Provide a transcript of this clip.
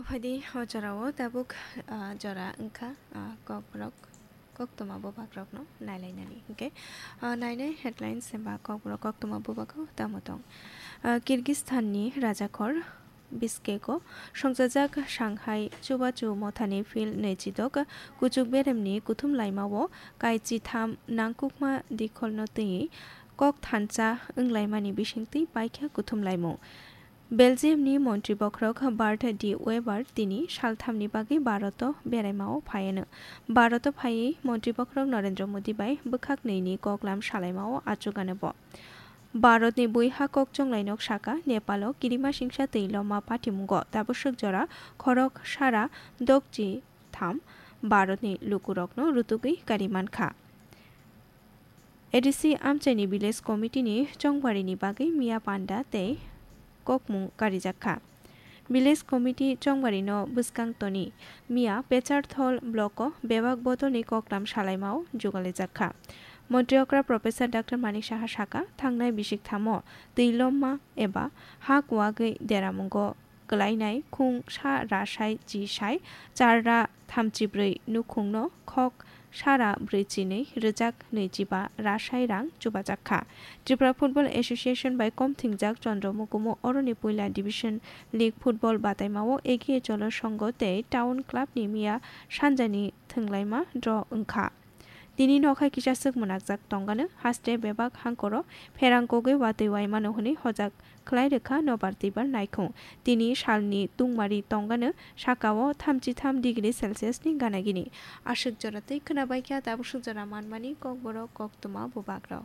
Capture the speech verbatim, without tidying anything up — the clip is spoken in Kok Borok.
Phaidi o jorao tabuk, ah, jora wngkha, ah, kokborok koktwma bubagrokno nailainani. Hwnkhe, ah, nainai headlines ba kokborok koktwma bubago tamo tong. Ah, Kyrgyzstanni rajakhor Bishkeko songchajak Shanghai Chubachu Mothani Phil naichidok kuchuk beremni kuthum laimao kaichi tham nangkukma dikholno twiwi kok thansa wnglaimani bisingtwi paikha kuthum laimung. Belgiumni montri bokhorok Bart de Wever tini salthamni bagwi Bharoto beraimao phaiano. Bharoto phaiwi montri bokhorok Narendra Modi bai bwkhak nini koklam salaimao achugano bo. Bharatni buiha kok chonglainok saka Nepalo kirima singsa twi loma patimungo tabwswk jora khorok sara dokchi tham Bharatni lukurokno rutugwi kari mankha. A D C amchaini village committee ni chongbarini bagwi miya panda tei kokmung karijak kha. Village committee chongbarino bwskang toni miya Pecharthol block o bebak bodolni koklam salaimao jugalaijak kha. Montri okra Professor Doctor Manik Saha saka, thangnai bisik thamo twi lomma eba ha kuwagwi deramungo kwlainai khung sa rasai chi sai char ra thamchibrwi nukhungno khok sara brwi chinwi rwjak nwichiba rasai rang chubajak kha. Tripura Football Association bai kom thingjak Chandra Mukumu oroni puila Division League football bataimao Egiye Cholo Songho tei Town Club ni miya sanjani thwnglaima draw wngkha. Tini nokha kisa swk mwnakjak tongano haste bebak hangkoro pherang kogwi watwi waimano hwnwi hojak khlai rwkha nobar twibar naikhung. Tini salni tungmari tongano sakao thamchi tham degree Celsius ni gana gini. Aswk jora twi khwna baikha tabuk swk jora manmani kokborok koktwma bubagrok.